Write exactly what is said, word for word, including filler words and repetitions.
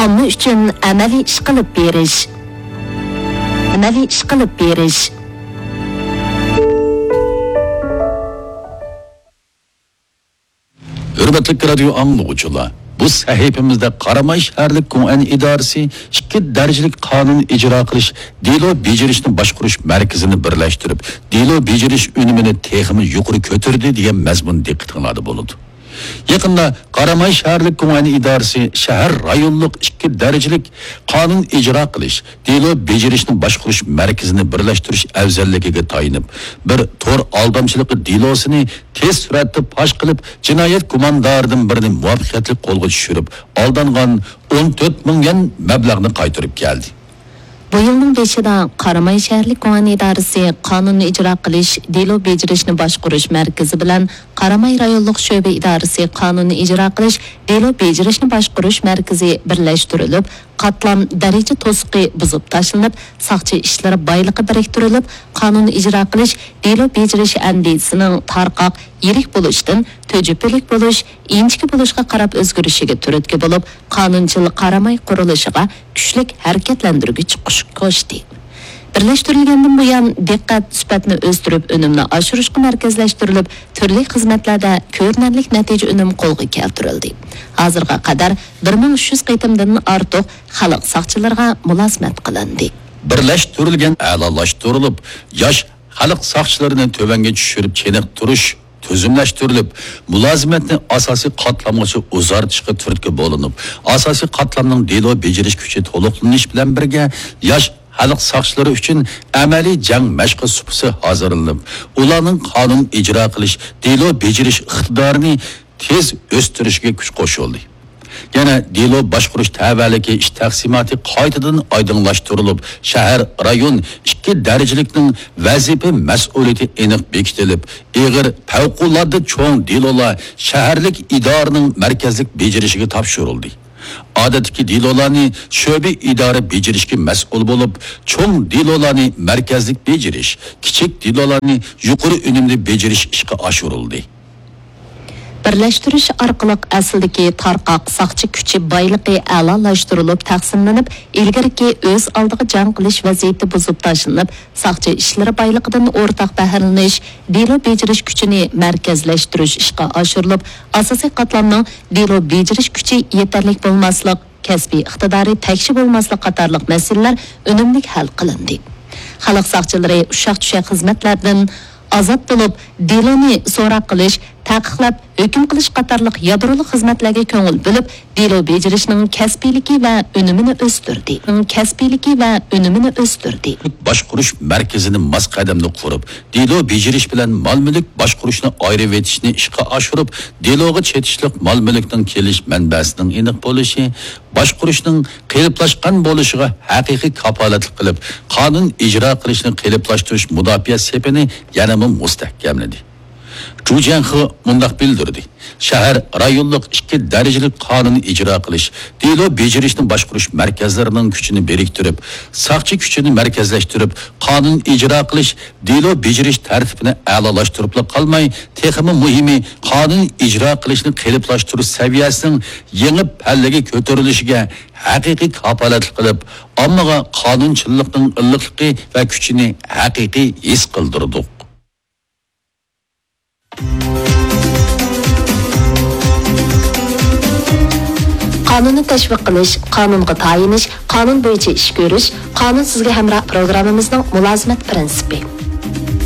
ئامما ئۈچۈن ئەمەلىي ئىش قىلىپ بېرىش. ئەمەلىي ئىش قىلىپ بېرىش. ھۆرمەتلىك رادىيو ئاڭلىغۇچىلار، بۇ سەھىپىمىزدە قاراماي شەھەرلىك گوڭئەن ئىدارىسى ئىككى دەرىجىلىك قانۇن ئىجرا قىلىش، دېلو بېجىرىشنى باشقۇرۇش مەركىزىنى بىرلەشتۈرۈپ، دېلو بېجىرىش ئۈنۈمىنى تېخىمۇ يۇقىرى كۆتۈردى دېگەن مەزمۇن دىققىتىڭلاردا بولىدۇ. يېقىندا قاراماي شەھەرلىك گوڭئەن ئىدارىسى شەھەر رايونلۇق ئىككى دەرىجىلىك قانۇن ئىجرا قىلىش، دېلو بېجىرىشنى باشقۇرۇش مەركىزىنى بىرلەشتۈرۈش ئەۋزەللىكىگە تايىنىپ، بىر تور ئالدامچىلىقى دېلوسىنى تېز سۈرئەتتە پاش قىلىپ، جىنايەت گۇماندارىدىن بىرىنى مۇۋەپپەقىيەتلىك قولغا چۈشۈرۈپ، ئالدانغان ئون تۆت مىڭ يۈەن مەبلەغنى قايتۇرۇپ كەلدى. بۇ يىلنىڭ بېشىدا قاراماي شەھەرلىك گۇڭئەن ئىدارىسى قانۇننى ئىجرا قىلىش، دېلو بېجىرىشنى باشقۇرۇش مەركىزى بىلەن قاراماي رايونلۇق شۆبە ئىدارىسى قانۇننى ئىجرا قىلىش، دېلو بېجىرىشنى باشقۇرۇش مەركىزى بىرلەشتۈرۈلۈپ، قاتلام دەرىجە توسۇقى بۇزۇپ تاشلىنىپ، ساقچى ئىشلىرى بايلىقى بىرىكتۈرۈلۈپ، قانۇن ئىجرا قىلىش، دېلو بېجىرىش ئەندىزىسىنىڭ تارقاق، يىرىك بولۇشتىن تۆجۈپىلىك بولۇش، ئىنچىكە بولۇشقا قاراپ ئۆزگىرىشىگە تۈرتكە بولۇپ، قانۇنچىل قاراماي قۇرۇلۇشىغا كۈچلۈك ھەرىكەتلەندۈرگۈچ كۈچ قوشتى. بىرلەشتۈرۈلگەندىن بۇيان، دىققەت سۈپەتنى ئۆستۈرۈپ، ئۈنۈمنى ئاشۇرۇشقا مەركەزلەشتۈرۈلۈپ، تۈرلۈك خىزمەتلەردە كۆرۈنەرلىك نەتىجە ئۈنۈم قولغا كەلتۈرۈلدى. ھازىرغا قەدەر بىر مىڭ ئۈچ يۈز قېتىمدىن ئارتۇق خەلق ساقچىلىرىغا مۇلازىمەت قىلىندى. بىرلەشتۈرۈلگەن، ئەلالاشتۇرۇلۇپ، ياش خەلق ساقچىلىرىنى تۆۋەنگە چۈشۈرۈپ چېنىقتۇرۇش تۈزۈملەشتۈرۈلۈپ، مۇلازىمەتنى ئاساسىي قاتلامغىچە ئۇزارتىشقا تۈرتكە بولۇنۇپ، ئاساسىي قاتلامنىڭ دېلو بېجىرىش كۈچى تولۇقلىنىش بىلەن بىرگە، ياش خەلق ساقچىلىرى ئۈچۈن ئەمەلىي جەڭ مەشقى سۇپىسى ھازىرلىنىپ، ئۇلارنىڭ قانۇن ئىجرا قىلىش، دېلو بېجىرىش ئىقتىدارىنى تېز ئۆستۈرۈشىگە كۈچ قوشۇلدى. يەنە دېلو باشقۇرۇش تەۋەلىكى ئىش تەقسىماتى قايتىدىن ئايدىڭلاشتۇرۇلۇپ، شەھەر، رايون ئىككى دەرىجىلىكنىڭ ۋەزىپە مەسئۇلىيىتى ئېنىق بېكىتىلىپ، ئېغىر، پەۋقۇلئاددە چوڭ دېلولار شەھەرلىك ئىدارىنىڭ مەركەزلىك بېجىرىشىگە تاپشۇرۇلدى. ئادەتتىكى دېلولارنى شۆبە ئىدارە بېجىرىشكە مەسئۇل بولۇپ، چوڭ دېلولارنى مەركەزلىك بېجىرىش، كىچىك دېلولارنى يۇقىرى ئۈنۈمدە بېجىرىش ئىشقا ئاشۇرۇلدى. بىرلەشتۈرۈش ئارقىلىق ئەسلىدىكى تارقاق ساقچى كۈچى بايلىقى ئەلالاشتۇرۇلۇپ تەقسىملىنىپ، ئىلگىرىكى ئۆز ئالدىغا جەڭ قىلىش ۋەزىيىتى بۇزۇپ تاشلىنىپ، ساقچى ئىشلىرى بايلىقىدىن ئورتاق بەھرىلىنىش، دېلو بېجىرىش كۈچىنى مەركەزلەشتۈرۈش ئىشقا ئاشۇرۇلۇپ، ئاساسىي قاتلامنىڭ دېلو بېجىرىش كۈچى يېتەرلىك بولماسلىق، كەسپىي ئىقتىدارى تەكشى بولماسلىق قاتارلىق مەسىلىلەر ئۈنۈملۈك ھەل قىلىندى. خەلق ساقچىلىرى ئۇششاق-چۈششەك خىزمەتلەردىن ئازاد بولۇپ، دېلونى سوراق قىلىش، تەقىقلەپ ھۆكۈم قىلىش قاتارلىق يادرولۇق خىزمەتلەرگە كۆڭۈل بۆلۈپ، دېلو بېجىرىشنىڭ كەسپىيلىكى ۋە ئۈنۈمىنى ئۆستۈردى. كەسپىيلىكى ۋە ئۈنۈمىنى ئۆستۈردى. باشقۇرۇش مەركىزىنى ماس قەدەمدە قۇرۇپ، دېلو بېجىرىش بىلەن مال-مۈلۈك باشقۇرۇشنى ئايرىۋېتىشنى ئىشقا ئاشۇرۇپ، دېلوغا چېتىشلىق مال-مۈلۈكنىڭ كېلىش مەنبەسىنىڭ ئېنىق بولۇشى، باشقۇرۇشنىڭ قېلىپلاشقان بولۇشىغا ھەقىقىي كاپالەتلىك قىلىپ، قانۇن ئىجرا قىلىشنى قېلىپلاشتۇرۇش مۇداپىئە سېپىنى يەنىمۇ مۇستەھكەملىدى. جۇ جيەنخې مۇنداق بىلدۈردى: شەھەر، رايونلۇق ئىككى دەرىجىلىك قانۇن ئىجرا قىلىش، دېلو بېجىرىشنى باشقۇرۇش مەركەزلىرىنىڭ كۈچىنى بىرىكتۈرۈپ، ساقچى كۈچىنى مەركەزلەشتۈرۈپ، قانۇن ئىجرا قىلىش، دېلو بېجىرىش تەرتىپىنى ئەلالاشتۇرۇپلا قالماي، تېخىمۇ مۇھىمى، قانۇن ئىجرا قىلىشنى قېلىپلاشتۇرۇش سەۋىيەسىنىڭ يېڭى پەللىگە كۆتۈرۈلۈشىگە ھەقىقىي كاپالەتلىك قىلىپ، ئاممىغا قانۇنچىللىقنىڭ ئىللىقلىقى ۋە كۈچىنى ھەقىقىي ھېس قىلدۇردۇق. قانۇننى تەشۋىق قىلىش، قانۇنغا تايىنىش، قانۇن بويىچە ئىش كۆرۈش، قانۇن سىزگە ھەمراھ پروگراممىمىزنىڭ مۇلازىمەت پىرىنسىپى.